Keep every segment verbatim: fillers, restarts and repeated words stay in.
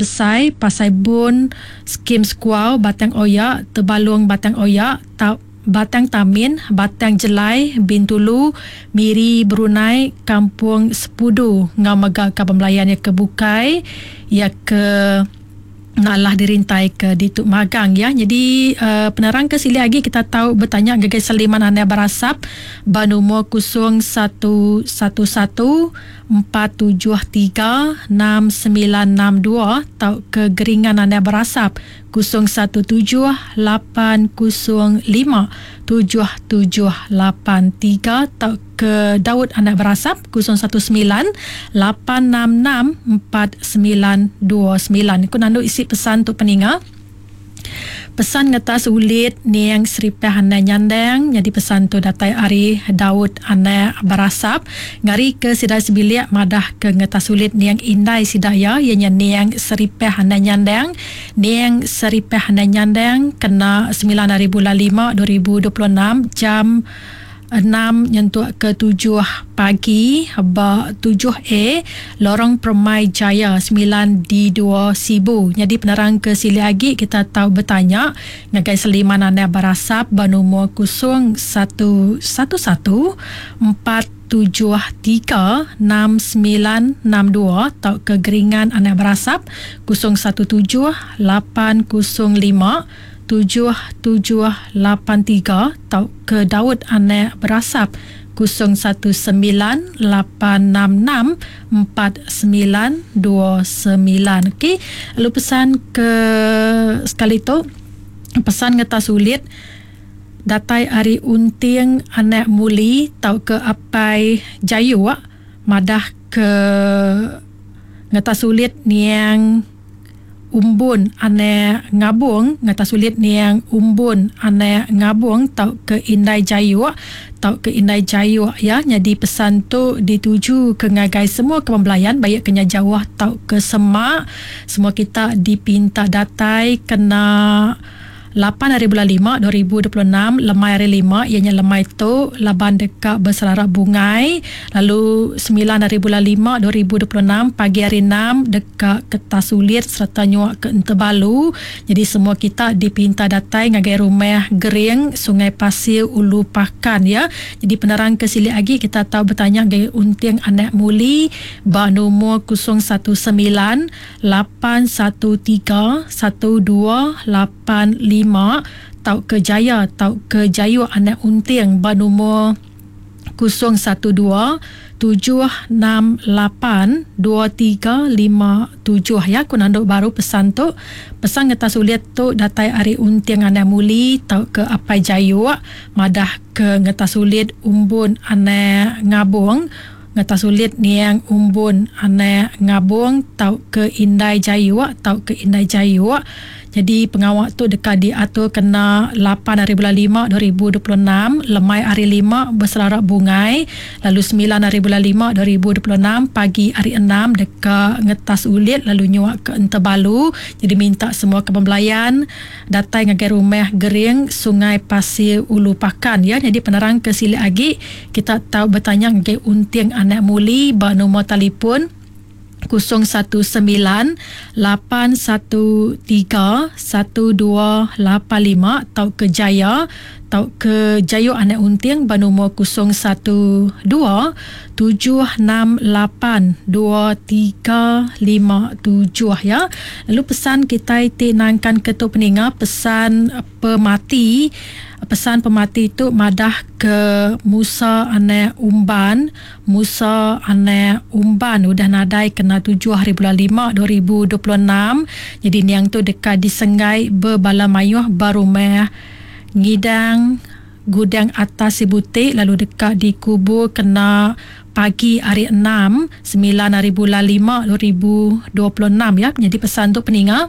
Besai, Pasai Bun, Skim Sekuau, Batang Oya, Tebalong Batang Oya, Ta- Batang Tamin, Batang Jelai, Bintulu, Miri, Brunei, Kampung Sepudu enggau mega kaban belayan iya ke bukai iya ke nalah dirintai ke ditu magang ya. Jadi uh, penerang ke sili agi kita tahu bertanya ngagai Seliman Anda Barasap ba nombor kosong satu satu satu empat tujuh tiga enam sembilan enam dua atau ke Geringan Anda Berasap kosong satu tujuh lapan kosong lima tujuh tujuh lapan tiga atau ke Daud Anak Berasap kosong satu sembilan lapan enam enam empat sembilan dua sembilan. Ku nandu isi pesan tu peninga. Pesan ngetas ulit niang Seripah Anak Nyandang. Jadi pesan tu datai ari Daud Anak Berasap. Ngari ke sidai sebilik madah ke ngetas ulit niang indai sidaya ianya niang Seripah Anak Nyandang. Niang Seripah Anak Nyandang kena sembilan hari bulan lima dua ribu dua puluh enam jam enam nyentuk ke tujuh pagi ba tujuh A Lorong Permai Jaya sembilan D dua Sibu. Jadi penerang ke sili agi kita tahu bertanya ngagai Seliman Anak Berasap ba nombor kosong satu satu satu empat tujuh tiga enam sembilan enam dua atau ke Geringan Anak Berasap kosong satu tujuh lapan kosong lima tujuh tujuh lapan tiga atau ke Daud Anak Berasap kosong satu sembilan lapan enam enam empat sembilan dua sembilan. Okey, lalu pesan ke sekali tu pesan ngetas sulit datai ari Unting Anak Muli tau ke Apai Jayu madah ke ngetas sulit niang Umbun Anak Ngabung ngata sulit niang Umbun Anak Ngabung tau ke Indai Jayu tau ke Indai Jayu ya. Jadi pesan tu dituju ke ngagai semua kepembelayan baik kena jauh tau ke semak, semua kita dipinta datai kena lapan hari bulan lima dua ribu dua puluh enam lemai hari lima ianya lemai tu laban dekat berserarak bungai, lalu sembilan hari bulan lima dua ribu dua puluh enam pagi hari enam dekat Kertas Sulit serta nyuak ke Entebalu. Jadi semua kita dipinta datai ngagai rumah Gering Sungai Pasir Ulu Pakan ya. Jadi penerang ke sili agi kita tahu bertanya ngagai Unting Anak Muli ba nombor kosong satu sembilan lapan satu tiga satu dua lapan lima tau ke Jaya tau ke Jayu Anak Unting ba nombor kosong satu dua tujuh enam lapan dua tiga lima tujuh ya. Aku nanduk baru pesan tu. Pesan ngetas ulit tu datai ari Unting Anak Muli tau ke Apai Jayu madah ke ngetas ulit Umbun Anak Ngabung ngetas ulit niang Umbun Anak Ngabung tau ke Indai Jayu tau ke Indai Jayu. Jadi pengawak tu dekat diatur kena lapan hari bulan lima dua ribu dua puluh enam lemai hari lima berserarak bungai, lalu sembilan hari bulan lima dua ribu dua puluh enam pagi hari enam dekat ngetas ulit lalu nyuak ke Entebalu. Jadi minta semua kepembelayan datai ngagai rumah Gering Sungai Pasir Ulu Pakan ya. Jadi penerang ke sili agi kita tahu bertanya ngagai Unting Anak Muli ba nombor telefon kosong satu sembilan lapan satu tiga satu dua lapan lima tau ke Jaya tau ke Jayu Anak Unting ba nombor kosong satu dua tujuh enam lapan dua tiga lima tujuh ya. Lalu pesan kita ti nangkan ketuk peninga pesan pemati. Pesan pemati itu madah ke Musa Anak Umban. Musa Anak Umban udah nadai kena tujuh hari bulan lima dua ribu dua puluh enam. Jadi niang tu dekat disenggai berbala mayuh barumah ngidang gudang atas Sibutik lalu dekat dikubur kena pagi hari enam sembilan hari bulan lima dua ribu dua puluh enam ya. Jadi pesan tu peninga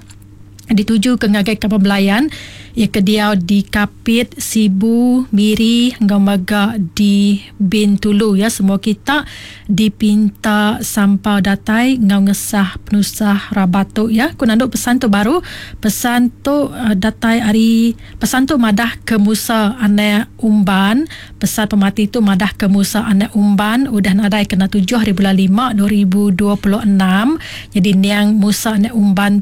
dituju ke ngagai kapal belayan ia ke diau di Kapit, Sibu, Miri, hingga maga di Bintulu ya. Semua kita dipinta sampau datai ngau ngesah penusah rabatuk ya. Ku nanduk pesan tu baru pesan tu uh, datai ari pesan tu madah ke Musa Anak Umban. Pesan pemati tu madah ke Musa Anak Umban udah nadai kena tujuh hari bulan lima dua ribu dua puluh enam. Jadi niang Musa Anak Umban